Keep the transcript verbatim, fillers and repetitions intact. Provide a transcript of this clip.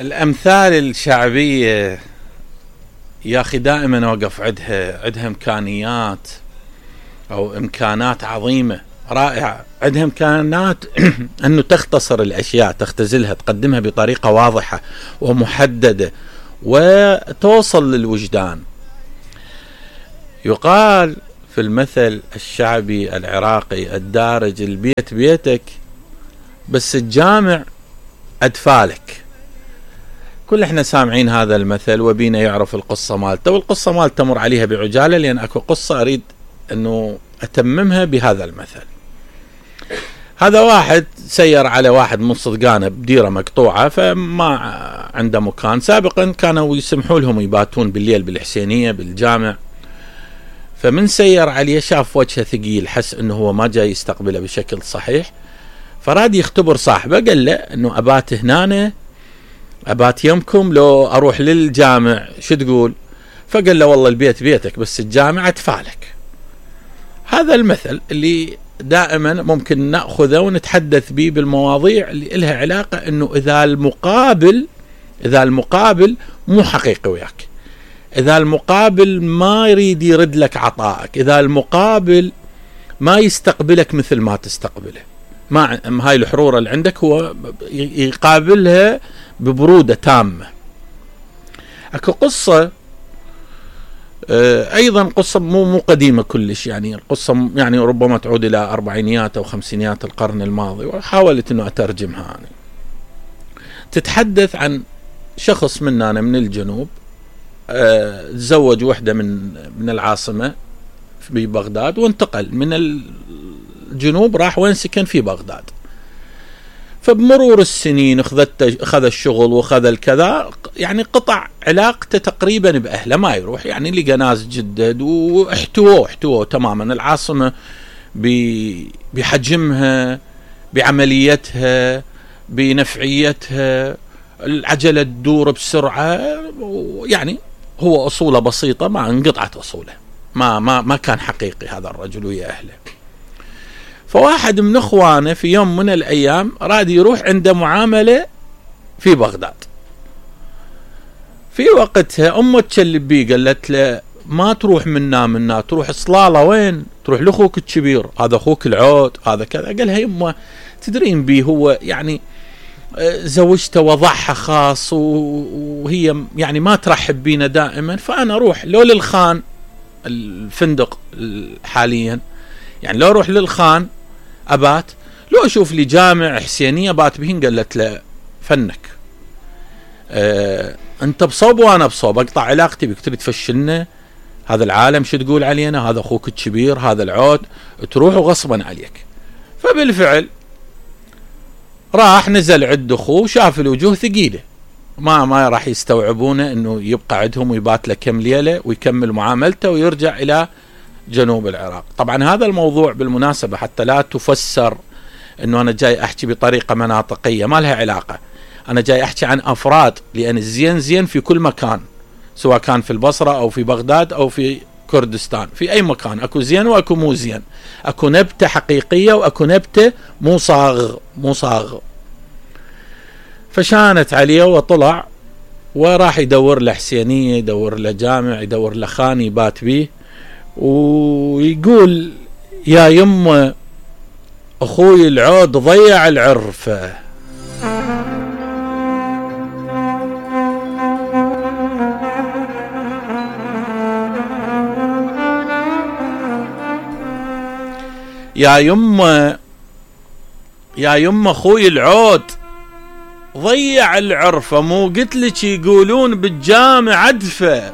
الأمثال الشعبية يا أخي دائما أوقف عندها عندها إمكانيات أو إمكانات عظيمة رائعة، عندها إمكانات أنه تختصر الأشياء، تختزلها، تقدمها بطريقة واضحة ومحددة وتوصل للوجدان. يقال في المثل الشعبي العراقي الدارج: البيت بيتك بس الجامع أدفالك. كل احنا سامعين هذا المثل وبينا يعرف القصة مالته، والقصة مالته تمر عليها بعجالة لأن أكو قصة أريد أنه أتممها بهذا المثل. هذا واحد سير على واحد من صدقانه بديرة مقطوعة، فما عنده مكان. سابقا كانوا يسمحوا لهم يباتون بالليل بالحسينية بالجامع، فمن سير عليه شاف وجهه ثقيل، حس أنه هو ما جاي يستقبله بشكل صحيح، فراد يختبر صاحبه، قال له أنه أبات هنا، أبات يمكم لو أروح للجامع، شو تقول؟ فقال له والله البيت بيتك بس الجامع أدفالك. هذا المثل اللي دائما ممكن نأخذه ونتحدث به بالمواضيع اللي لها علاقة أنه إذا المقابل إذا المقابل مو حقيقي وياك، إذا المقابل ما يريد يرد لك عطائك، إذا المقابل ما يستقبلك مثل ما تستقبله، ما هاي الحرورة اللي عندك هو يقابلها ببرودة تامة. أكو قصة أيضا قصة مو مو قديمة كلش، يعني القصة يعني ربما تعود إلى أربعينيات أو خمسينيات القرن الماضي، وحاولت أنه أترجمها يعني. تتحدث عن شخص مننا من الجنوب تزوج وحدة من من العاصمة في بغداد، وانتقل من الجنوب راح وين سكن في بغداد. فبمرور السنين اخذت اخذ الشغل واخذ الكذا، يعني قطع علاقته تقريبا باهله، ما يروح، يعني لقى ناس جدد واحتووه احتووه تماما. العاصمه بحجمها، بعمليتها، بنفعيتها، العجله تدور بسرعه، يعني هو اصوله بسيطه، ما انقطعت اصوله، ما ما ما كان حقيقي هذا الرجل ويا اهله. فواحد من اخوانه في يوم من الايام راد يروح عنده معامله في بغداد. في وقتها امه تشلب بيه، قالت له ما تروح منا منا، تروح صلاله وين؟ تروح لاخوك الكبير، هذا اخوك العود، هذا كذا. قالها يمه تدرين بيه هو يعني زوجته وضعها خاص وهي يعني ما ترحب بينا دائما، فانا اروح لو للخان الفندق حاليا، يعني لو اروح للخان أبات، لو أشوف لي جامع حسينية بات بهن. قالت له فنك، أه أنت بصوب وأنا بصوب، أقطع علاقتي بك، تريد تفشلنا، هذا العالم شو تقول علينا، هذا أخوك الكبير، هذا العود، تروح غصبا عليك. فبالفعل راح نزل عند أخوه، شاف الوجوه ثقيلة، ما ما راح يستوعبونه أنه يبقى عندهم ويبات له كم ليلة ويكمل معاملته ويرجع إلى جنوب العراق. طبعا هذا الموضوع بالمناسبة حتى لا تفسر انه انا جاي احكي بطريقة مناطقية، ما لها علاقة، انا جاي احكي عن افراد، لان الزين زين في كل مكان، سواء كان في البصرة او في بغداد او في كردستان، في اي مكان اكو زين واكو مو زين، اكو نبتة حقيقية واكو نبتة مو صاغ مو صاغ. فشانت عليه وطلع وراح يدور له حسينية، يدور له جامع، يدور له خان يبات بيه، ويقول يا يمه أخوي العود ضيع العرفة. يا يمه يا يمه أخوي العود ضيع العرفة، مو قلت لك يقولون بالجامع أدفة.